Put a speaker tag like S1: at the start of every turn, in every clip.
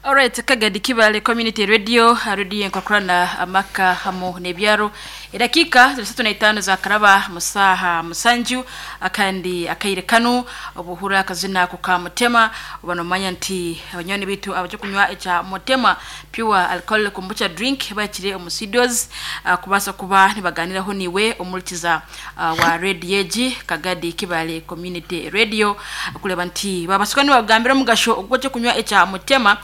S1: Alright, Kagadi Kibale Community Radio, radio enkokurana amaka hamu n'ebyaro. Edakiika ziri 35 zakaraba mu saaha 7 akandi akaire kanu obuhura akazina ako ka Mutema oba nomanya nti abanywani baitu abaje kunywa ekya Mutema Pure Alcohol Kombucha Drink bakire omu studios kubaasa kuba nibaganiraho niiwe omurikiza wa radio egi Kagadi Kibale Community Radio kureeba nti babaasa kuba nibakugambira omugasho ogw'ekyokunywa ekya Mutema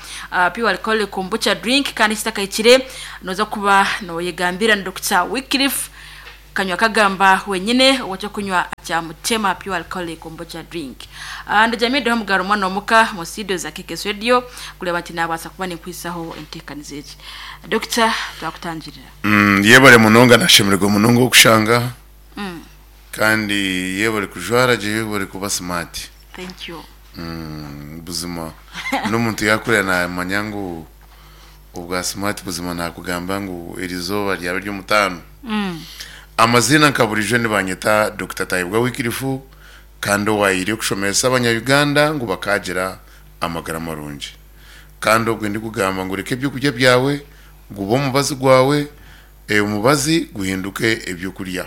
S1: Pure Alcohol Kombucha Drink kandi kitakahikire noza kuba noyegambira na Dokita Wycliffe Kanywa Kagamba wenyine ow'ekyokunywa kya Mutema Pure Alcoholic Kombucha Drink. Ndajamiireho Mugaro Mwana Omuka mu studio za KKS Radio kureeba nti nabaasa kuba ninkwisaho enteekaniza egi. Dokita twakutangirira.
S2: Yebare munonga nashemererwa munonga okushanga aha kandi yebare kujwara gye yebare kuba smart.
S1: Thank you.
S2: Buzima n'omuntu yakureba namanya ngu obwa smart buzima nakugamba ngu erizooba ryaba ery'omutaano. Amaziina nka burijo nibanyeta Dokita Tayebwa Wycliffe kandi owaayire kushomesa abanya Uganda ngu bakaagira amagara marungi. Kandi obwe ndikugamba ngu reka ebyokurya byawe gube omubazi gwawe, omubazi guhinduke ebyokurya.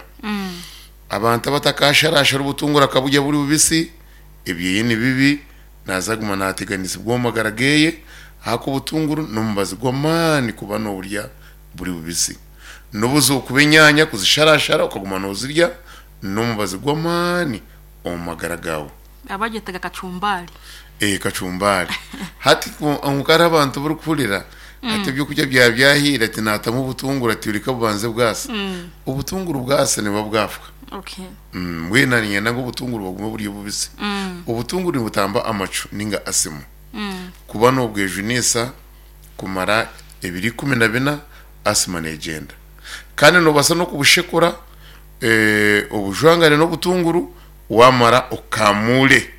S2: Abantu abatakasharashara obutunguru akaburya buri bubisi, ebyeye ni bibi, naza kuguma nateganisibwa omu magara geye, ahakuba obutunguru n'omubazi gw'amaani kuba noburya buri bubisi. N'obu zokuba enyaanya kuzisharashara okaguma nozirya, n'omubazi gw'amaani omu magara gawe.
S1: Abagyetaga kacumbari.
S2: Ee kacumbari. Hati kwonka hariho abantu abu orikuhurira ati ebyokurya byaba byahiire ati naatamu obutunguru ati reka bubanze bwasa. Obutunguru bwasa nibuba bwafwa.
S1: Okay.
S2: Mbwenu naanye niinyenda ngu obutunguru bugume buri obubisi. Obutunguru nibutamba amacu ninga asima. Kuba noobwejunisa kumara ebiro 14 asima neegyenda. Kandi noobaasa n'okubushekura obujwangane n'obutunguru waamara okamuure.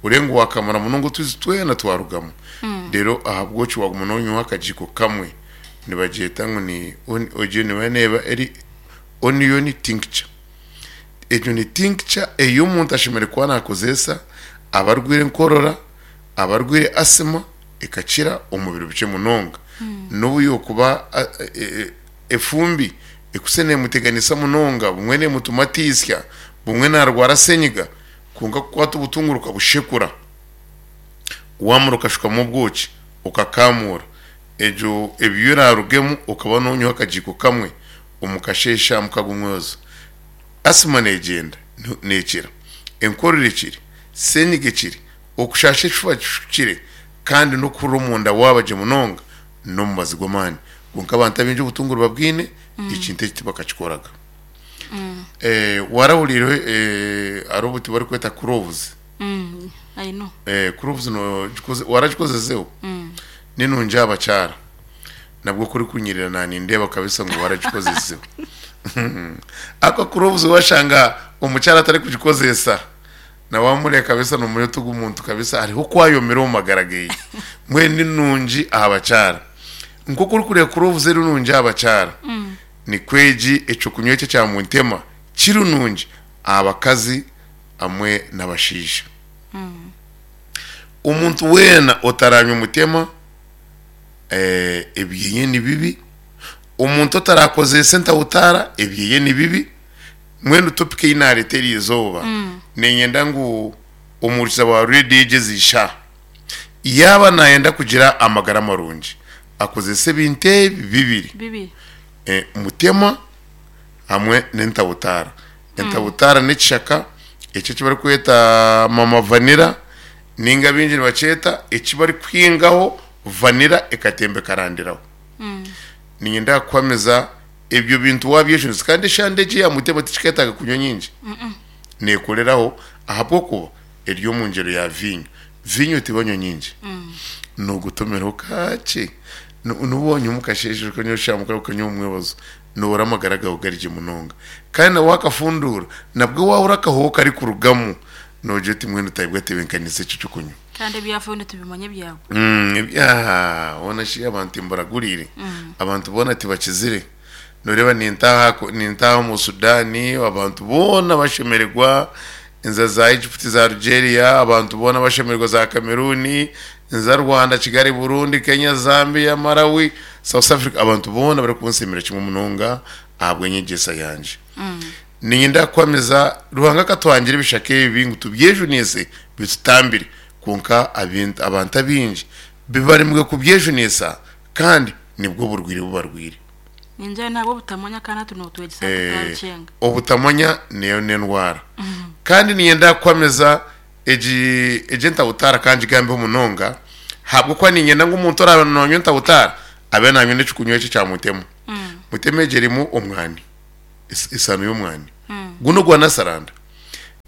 S2: Orebe ngu waakamura munonga otwizi twena twarugamu. Reero ahabw'okyo waaguma noonywaho akagiiko kamwe, nibagyeta ngu ni egyo neeba neeba eri onion tincture. Egyo ni tincture ei omuntu ashemereire kuba naakozesa abarwaire enkorora, abarwaire asima ekakira omu biro bikye munonga. N'obu yookuba efumbi ekuse neemuteganisa munonga, bumwe neemutuma ataitsya, bumwe naarwara senyiga, Kwonka kukwata obutunguru okabushekura, waamara okashukamu obwoki okakamuura, egyo ebyo eraarugemu okaba noonywaho akagiiko kamwe omu kasheeshe aha mukago omwebazo. Asima neegyenda neekira, enkorora ekire, senyiga ekire, okushaasha ekifuba kire kandi n'okuhurira omunda waaba gye munonga n'omubazi gw'amaani. Kwonka abantu abaingi obutunguru babwine, ekintu eki tibakakikoraga. Warahuriire hariho obuti barikweta cloves?
S1: I know.
S2: Cloves waragikozeseho? Ninungi aha bakyara. Nabwo ku orikunyirira nanindeeba kabisa ngu waragikozeseho. Ahakuba cloves washanga omukyara atarikugikozesa na wamureeba kabisa nomanya oti ogu muntu kabisa hariho oku ayomire omu magara geye. Mbwenu ninungi aha bakyara. Nkoku orikureeba cloves eri nungi aha bakyara, Nikwo egi eky'okunywa eki ekya Muntema kiri nungi aha bakazi hamwe n'abashaija. Omuntu weena otaranywa Mutema ebyeye ni bibi, omuntu otarakozeesa entawutaara ebyeye ni bibi. Mbwenu topic ei nareeta eri izooba niinyenda ngu omuhurikiza wa reediyo egi ezi shaaha yaaba nayenda kugira amagara marungi akozese ebintu ebi bibiri.
S1: Bibiri.
S2: Mutema hamwe n'entabutaara. Entabutaara n'ekishaka eki eki barikweta mama vanilla ninga abaingi nibakyeta eki barikuhingaho vanilla ekatemba ekarandiraho. Niinyenda kukuhamiza ebyo bintu waabyejunisa kandi eshande egi eya mutema tikiketaaga kunywa nyingi, neekoreraho ahabw'okuba eri omu ngyero ya viinyo. Viinyo tibanywa nyingi, noogotomeraho kakye. N'obu wanywa omu kasheeshe okanywa eshaaha mukaaga okanywa omu mwebazo, nohurira amagara gaawe gari gye munonga. Kandi na waakafunduura, nabwo waahurira akahooho karikurugamu, noogira oti mbwenu Tayebwa atebeekanise eki eky'okunywa.
S1: Kandi ebyafayo nitubimanya ebyabo.
S2: Ebya hoona shi abantu timbaraguriire, abantu boona tibakizire. Nooreeba nintaaha nintaaha omu Sudan, abantu boona bashemererwa, nza za Egypt, za Algeria, abantu boona bashemererwa, za Cameroon. Nza Rwanda, Kigali, Burundi, Kenya, Zambia, Malawi, South Africa, abantu boona barikunsiimira kimwe munonga ahabw'enyegyesa yangye. Niinyenda kukwamiza Ruhanga akatuhangira ebishaka ebi ngu tubyejunise bitutambire, kwonka abantu abaingi bibaremire kubyejunisa kandi nibwo burwaire bu barwaire.
S1: Ningira n'ahabw'obutamanya kandi hati nootwegyesa ngu twabicenga.
S2: Obutamanya neyo n'endwara. Kandi niinyenda kukwamiza Egi egi entabutaara ka ngigambeho munonga ahabw'okuba niinyenda ngu omuntu oraabe naanywa entabutaara abe naanywa n'ekikunywa eki ekya mutema. Mutema egi erimu omwani, esaano y'omwani. Gunu ogwa nasaranda.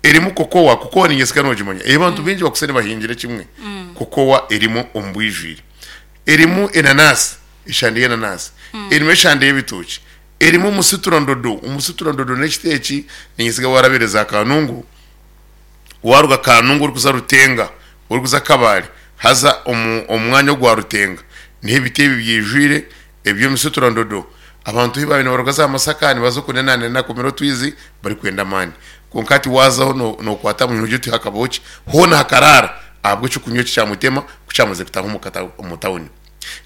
S2: Erimu kokowa, kokowa niinyesiga noogimanya ei abantu baingi bakutsire nibahingira kimwe. Kokowa erimu omu bwijwire. Erimu enanaasi, eshande y'enanaasi. Erimu eshande y'ebitookye. Erimu omusiturandodo, omusiturandodo n'ekiti eki niinyesiga waarabire za Kanungu. Waaruga Kanungu orikuza Rutenga, orikuza Kabale, haza omu omu mwanya ogwa Rutenga niho ebiti ebi byaijwire eby'emisuturandodo. Abantu ahu baabaire nibaruga za Masaka nibaza oku Nenanena kumira otwizi barikwenda amaani. Kwonka hati waazaho no nookwata aha munywa ogire oti hakabaho ki? Hoona hakaraara ahabw'eky'okunywa eki kya Mutema ku kyamazire kutaaha omu kata omu tawuni.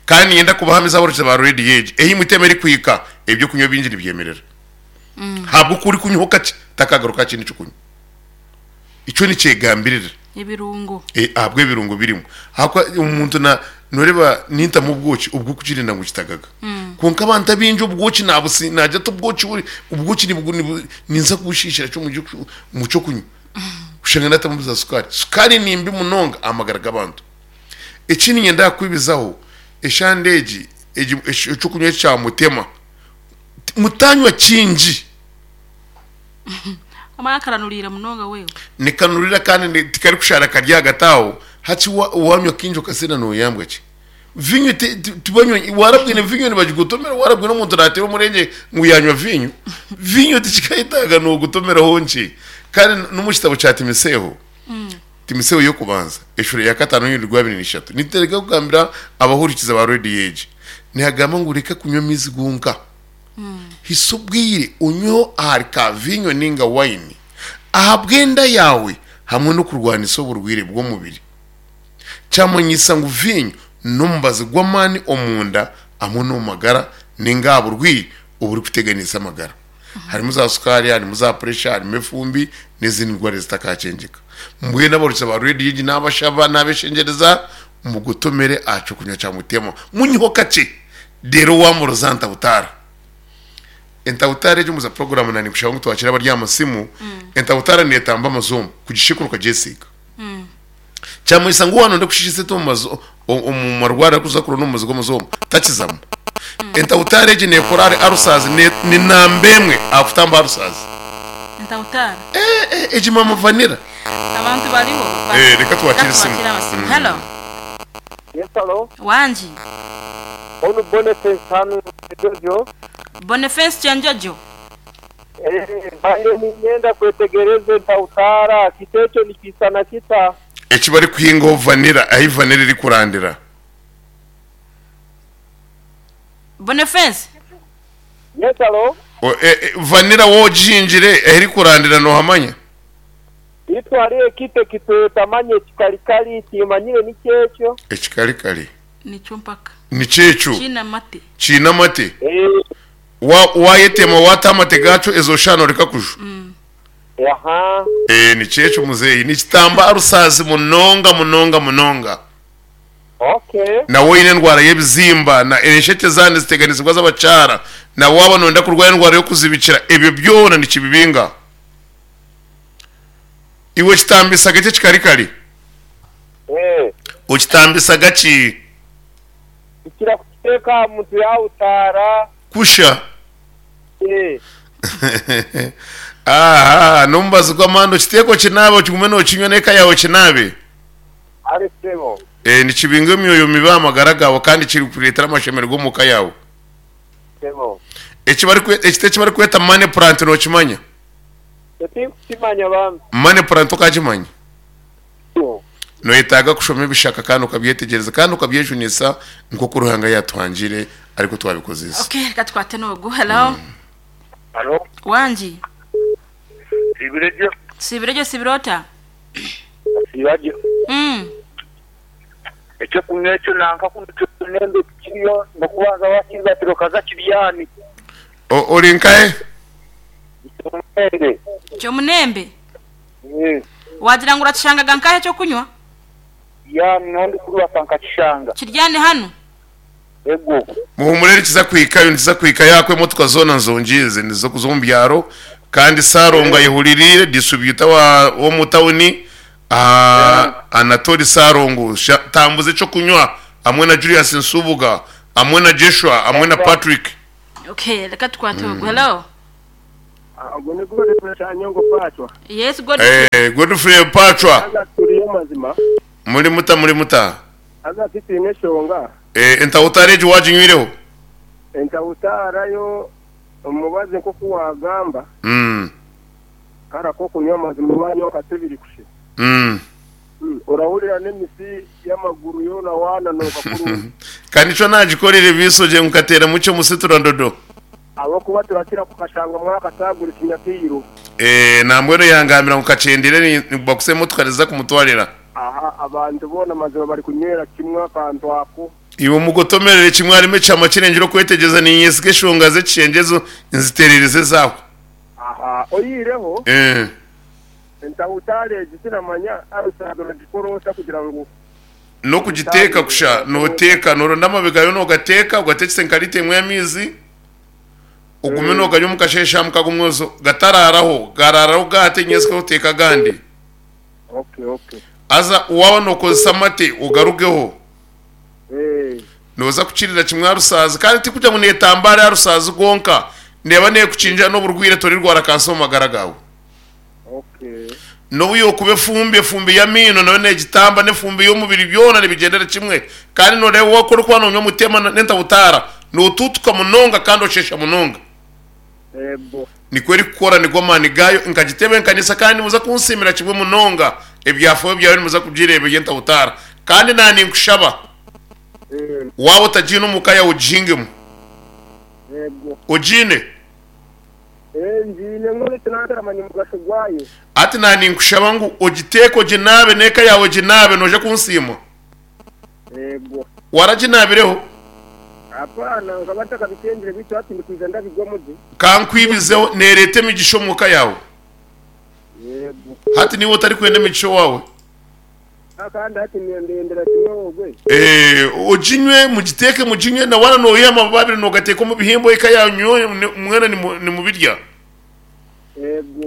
S2: Kandi niinyenda kubahamiza abarokiza ba reediyo egi, ei Mutema erikuhika eby'okunywa bingi nibyemerera. Ahabw'oku orikunywaho kakye takagaruka aha kindi ky'okunywa. Ekyo nikyegambirira.
S1: Ebirungo.
S2: Ahabw'ebirungo birimu. Ahakuba omuntu na noreeba nintamu obwoki obw'okukirinda ngu kitagaga. Kwonka abantu abaingi obwoki nabusi nagira ati obwoki buri obwoki nibu nibu ninza kubushiishira ki omu ky'okunywa. Oshanga natamu za sukaari. Sukaari ni mbi munonga aha magara g'abantu. Ekindi niinyenda kukwibizaho, eshande egi egi eky'okunywa eki kya mutema, mutanywa kingi.
S1: Omwana akaranuriira munonga wewe.
S2: Nikanurira kandi tikarikushaara kari ahagati aho. Hati wanywa kaingi okasinda noyambwa ki? Vinyo tibanywa warabwine vinyo nibagigotomera warabwine omuntu nateera omurengye ngu yanywa vinyo. Vinyo tikikayetaaga nogotomeraho nkye. Kandi n'omu kitabo kya Timiseeho, Timiseeho y'okubanza eshuura ya kataano n'orunyiriri rwa abiri n'ishatu nituteereka kugambira abahurikiza ba rediyo egi nihagamba ngu reka kunywa amaizi gonka. Hitsya obwire onyweho ahari ka viinyo nainga waini ahabw'enda yaawe hamwe n'okurwanisa oburwaire bw'omubiri. Kyamanyisa ngu viinyo n'omubazi gw'amaani omunda hamwe n'omu magara nainga aha burwaire oburikuteganisa amagara. Harimu za sukaari, harimu za puresha, harimu efumbi n'ezindi ndwara ezitakakyengyeka. Mbwenu abarukiza ba rediyo egi naabashaba, naabeshengyereza mugotomere aha ky'okunywa kya Mutema. Munyweho kakye. Reero waamuroza ntabutaara. Entabutaara egyo omuza puroguraamu na ninkushaba ngu twakire abari aha masimu, entabutaara neetamba amazooma kugishekura okagyesiiga. Kyamanyisa ngu waaba nooyenda kushiisha esente omu mazo omu marwariro agu orikuza kuronda omubazi gw'amazooma, takizamu. Entabutaara egi neekora ahari arusazi, ne ni namba emwe aha kutamba arusazi.
S1: Entabutaara?
S2: Eh, eh, egi maama vanilla.
S1: Abantu bariho.
S2: Eh, reka twakire
S1: Reka
S2: esimu.
S1: twakire amasimu. Hello.
S3: Yes, hello.
S1: Wangi.
S3: Onu Boniface hanu Kyenjojo.
S1: Boniface Kyenjojo.
S3: Eh, mbaire niinyenda kwetegereza entautaara, kiti ekyo nikiisana kita?
S2: Eki barikuhingaho vanilla, ahi vanilla erikurandira.
S1: Boniface.
S3: Yes, hello.
S2: O, e, e, vanilla waaba ogihingire ahi erikurandira noohamanya?
S3: Itwe hariho ekiti ekitwetamanya ekikarikari, timanyire nikyo ekyo.
S2: Ekikarikari?
S1: Nikyo mpaka.
S2: Nikyo ekyo?
S1: Kiine amate.
S2: Kiine amate?
S3: Ee.
S2: Wa, waayetema waata amate gaakyo ezo shaaha nooreka kujwa?
S3: Aha.
S2: Ee, nikyo ekyo muzeeyi. Nikitamba arusaazi munonga munonga munonga.
S3: Okay.
S2: Na waaba oine endwara y'ebizimba, na enshekye zaaba niziteganisibwa z'abakyara, na waaba nooyenda kurwara endwara y'okuzibikira, ebyo byona nikibibinga. Iwe okitambisaga ki ekikarikari? Okitambisaga ki?
S3: Tukira kukiteeka aha muntu yaahutaara.
S2: Kusha. Aha, n'omubazi gw'amaani okiteeke okinaabe okigume nookinywa n'eka yaawe okinaabe.
S3: Kare sebo.
S2: Nikibinga emyoyo mibi aha magara gaawe kandi kirikureetera amashemererwa omu ka yaawe.
S3: Sebo.
S2: Ekiti eki barikweta money plant nookimanya?
S3: Ekyo tinkukimanya bambi.
S2: Money plant tokakimanya? Noyetaaga kushoma ebishaka kandi okabyetegyereza kandi okabyejunisa nk'oku Ruhanga yatuhangire arikwo twabikozesa.
S1: Okay, reka tukwate n'ogu. Hello.
S4: Halo.
S1: Wangi.
S4: Siibire gye.
S1: Siibire gye, siibire ota?
S4: Nasiiba gye.
S3: Ekyokunywa ekyo nanka kunu kyomunembe tikiriyo nokubanza wakiribatira okaza kiryani.
S2: Ori nkahe?
S3: Kyomunembe.
S1: Kyomunembe? Wagira ngu orakishangaga nkahe ekyokunywa?
S3: Kiryani niho ndikuribata nkakishanga.
S1: Kiryani hanu?
S3: Ego.
S2: Muhumure nikiza kuhikayo nikiza kuhikayo ahakuba emotoka zoona nzongiize niziza kuza omu byaro kandi Sarongo ayehuririire distributor wa w'omu tawuni Anatoli Sarongo tambuza ekyokunywa hamwe na Julius Nsubuga hamwe na Jeshua hamwe na Patrick.
S1: Okay, reka tukwate ogu. Hello.
S5: Ogu ni Godfrey Kyanyongo Pacwa.
S1: Yes, Godfrey.
S2: Eh, Godfrey Pacwa.
S5: Haza turiyo mazima.
S2: Muri muta muri muta.
S5: Haza titwine eshonga.
S2: Eh, entahutara egi waginywireho?
S5: Entahutara yo omubazi nk'oku wagamba. Kare ak'okunywa amazima wanywa nka tubiri kusha. Orahurira n'emitsi y'amaguru yoona waananuuka kurungi.
S2: Ka nikyo naagikorera ebiiso gye ngu nkateeramu kye omusitura ndodo.
S5: Ahabw'okuba turakira kukashanga mwakataagura ekinyakairo.
S2: Nambwenu yangambira ngu kakyendire bakusa emotoka niziza kumutwarira.
S5: Aha abantu boona mazima barikunywera kimwe akantu ako.
S2: Iwe omugotomerere kimwe harimu ekihama kirengire okwetegyereza niinyesiga eshonga z'ekishengye ezo nzitereereze ezaawe.
S5: Aha oyihireho entahutare egi tinamanya arusaga nogikora ota kugira ngu
S2: N'okugiteeka kusha noteeka noronda amababi gaayo nogateeka ogateekise nka liita emwe y'amaizi ogume noganywa omu kasheeshe aha mukago omwozo gataraaraho garaaraho gata nyentsya oteeke agandi. Haza waaba nookozesa amate ogarugeho. Nooza kukirira kimwe aha rusaazi kandi tikugira ngu neetambaare aha rusaazi rwonka, neeba neekukingira n'oburwaire torirwara kansa omu magara gaawe. N'obu yookuba efumbi, efumbi y'amaino nayo neegitamba n'efumbi y'omubiri byona nibigyendera kimwe. Kandi nooreeba waaba ku orikuba noonywa mutema n'entabutaara, nootuutuka munonga kandi osheesha munonga. Nikwo erikukora, nigo amaani gaayo. Nkagitebeekanisa kandi nimuza kunsiimira kimwe munonga. Ebyafaayo byayo nimuza kubyireeba eby'entabutaara. Kandi naaninkushaba, waaba otagiine omu ka yaawe ogihingemu. Ogiine? Hati naaninkushaba ngu ogiteeke oginaabe n'eka yaawe eginaabe, noija kunsiima. Waraginaabireho? Ka nkwibizeho, neereeta emigisha omu ka yaawe. Hati niiwe otarikwenda emigisha owaawe? Oginywe, mugiteeke muginywe, na waaba nooyiha amababi abiri noogateeka omu bihimba eka yaanyu mwena nimubirya.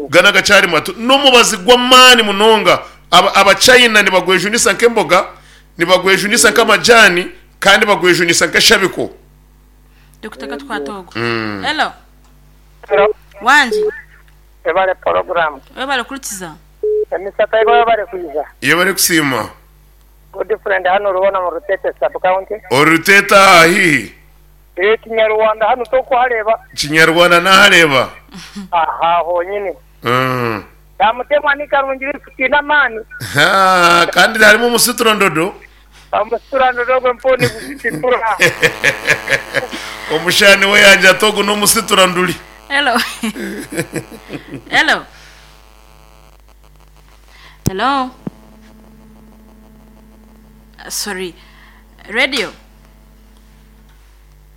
S2: Ganu agakyari mato n'omubazi gw'amaani munonga. Abachina nibagwejunisa nk'emboga, nibagwejunisa nk'amajaani kandi bagwejunisa nk'eshabiko.
S1: Dokita katukwate ogu. Hello. Wangi.
S6: Webale puroguramu.
S1: Webale kuhurikiza.
S6: Emisa Taiba webale kwija.
S2: Yebare kusiima.
S6: Good friend hanu Rubona mu Rutete sub county.
S2: Ori Rutete aha haihi?
S6: Eeh Kinyarwanda hanu tokuhareeba.
S2: Kinyarwanda nahareeba.
S6: Aha honyini. Namutemwa ni karungi beitu tiine amaani.
S2: Haa kandi harimu omusitura ndodo.
S6: Omusitura ndodo ogwo mpaho nigusitura.
S2: Omushaani we yaagira ati ogu n'omusitura nduri.
S1: Hello. Hello. Hello. Sorry. Radio.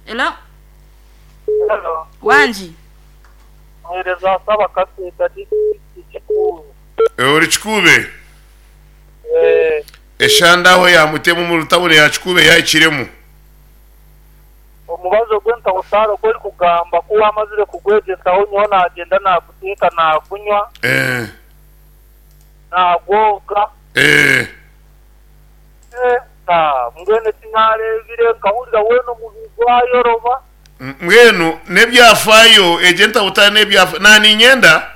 S1: Hello.
S3: Hello.
S1: Wangi.
S3: Muheereza Saaba Kaseeta disiturikiti Kikuube.
S2: Ori Kikuube?
S3: Eeh.
S2: Eshanda aho yaamutema omu rutawuni ya Kikuube yaahikiremu.
S3: Omubazi ogw'entahutaara ogu orikugamba ku waamazire kugwegyesaho nyowe naagyenda naaguteeka naagunywa, naagwoga. Mbwenu eki naareebire nkahurira weena omubiri gwayoroba.
S2: Mbwenu n'ebyafaayo, egyo entahutaara n'ebyafaayo. Naaniinyenda,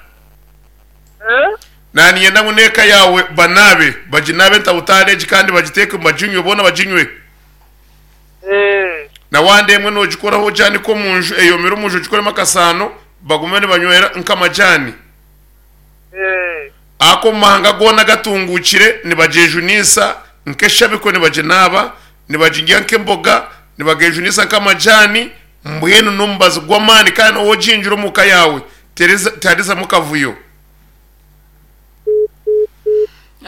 S2: naaniinyenda ngu n'eka yaawe banaabe, baginaabe entahutaara egi kandi bagiteeke baginywe, boona baginywe. Na wanda emwe noogikoraho ogyanike omu nju eyomire omu nju ogikoremu akasaano bagume nibanywera nk'amajaani. Ako omu mahanga goona agatunguukire nibagyejunisa nk'eshabiko nibaginaaba, nibagirya nk'emboga, nibageejunisa nk'amajaani, mbwenu n'omubazi gw'amaani kandi ou ogingira omu ka yaawe tiharizamu kavuyo.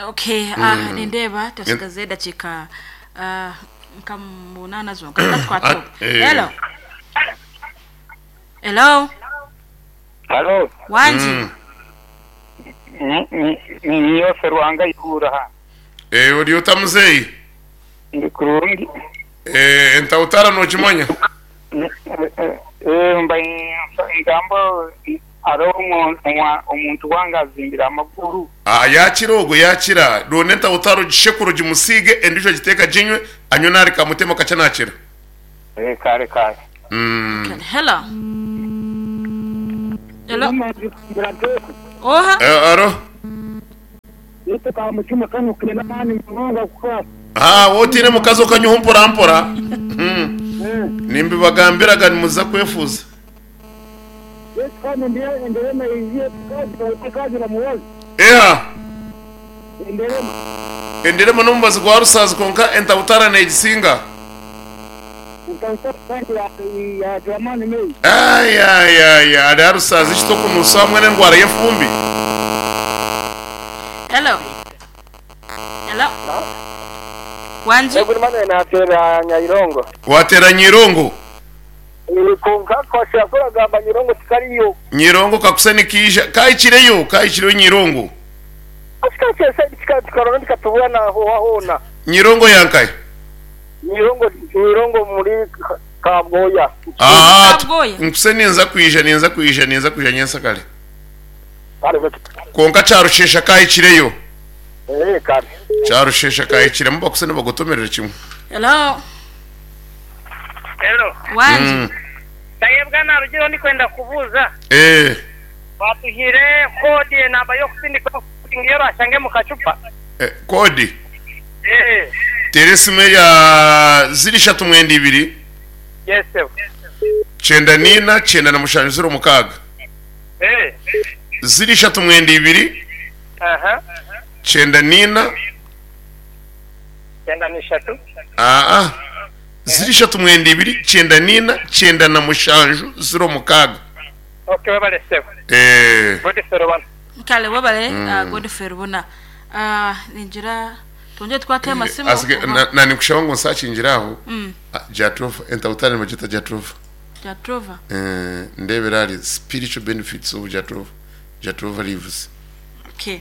S1: Okay, ah, nindeeba twasigaza edakiika. Nka munaana zonka. Reka tukwate ogu.
S2: Eh.
S1: Hello. Hello.
S6: Halo,
S1: Wangi.
S6: Niiwe Serwanga Ihura hanu.
S2: Eh, ori ota muzeeyi?
S6: Ndi kurungi.
S2: Eh, entautara nokimanya?
S6: Eh, mba ngamba hariho omuntu wange azimbire amaguru.
S2: Ah, yakira ogwo yakira. Ronda entautara ogishekure ogimusiige endiijo ogiteeke aginywe anywe nari kamutema kakye nakira.
S6: Eh, kare kare.
S2: Mm.
S1: Hello. Hello. Oha.
S2: Eh, aro. Ah, wowe otiine mukazi okanywaho mpora mpora. Nimbibagambiraga nimuza kwefuza. Eha. Enderema n'omubazi gwa rusaazi kwonka entabutara negisinga. Ayayaya ari aha rusaazi ekitokunuusa hamwe n'endwara y'efumbi.
S1: Hello. Hello. Wangi.
S3: Yego Emmanuel nateera Nyairongo.
S2: Wateera Nyairongo?
S3: Kwonka kwashira kuragamba Nyairongo tikariyo.
S2: Nyairongo kakuse nikaija. Kahikireyo, kahikireyo Nyairongo.
S3: Asika kyese tukarona tikatubura na hoha hoona.
S2: Nyairongo yankahi?
S3: Nyairongo Nyairongo muri Kabwoya.
S2: Ah,
S1: Kabwoya.
S2: nkuse ninza kwija, ninza kwija, ninza kwija nyensakare. Kwonka Kyarushesha kahikireyo.
S3: Eh, kare.
S2: Kyarushesha kahikiremu bakuse nibagotomerera kimwe.
S1: Hello.
S6: Hello.
S1: Wangi.
S6: Tayebwa narugireho ndikwenda kubuuza.
S2: Eh.
S6: Batuhire kodi enamba y'okusindika iyo orashange mu kacupa.
S2: Eh, kodi?
S6: Eh.
S2: Teera esimu eya ziri ishatu mwenda ibiri.
S6: Yes, sir.
S2: 94 97 06.
S6: Eh.
S2: Ziri ishatu mwenda ibiri.
S6: Aha.
S2: 94.
S6: 93.
S2: Aa. Ziri ishatu mwenda ibiri 94 97 06.
S6: Okay, webale sebo.
S2: Eh.
S6: Godfrey Rubona.
S1: Kale webale Godfrey Rubona. Ningira twongere tukwate amasimu.
S2: Asige
S1: oba-
S2: na nikushaba ngu nsakingira aho. Jatropha entautare nibagita Jatropha.
S1: Jatropha.
S2: Eh, ndebera ari spiritual benefits of Jatropha. Jatropha leaves.
S1: Okay.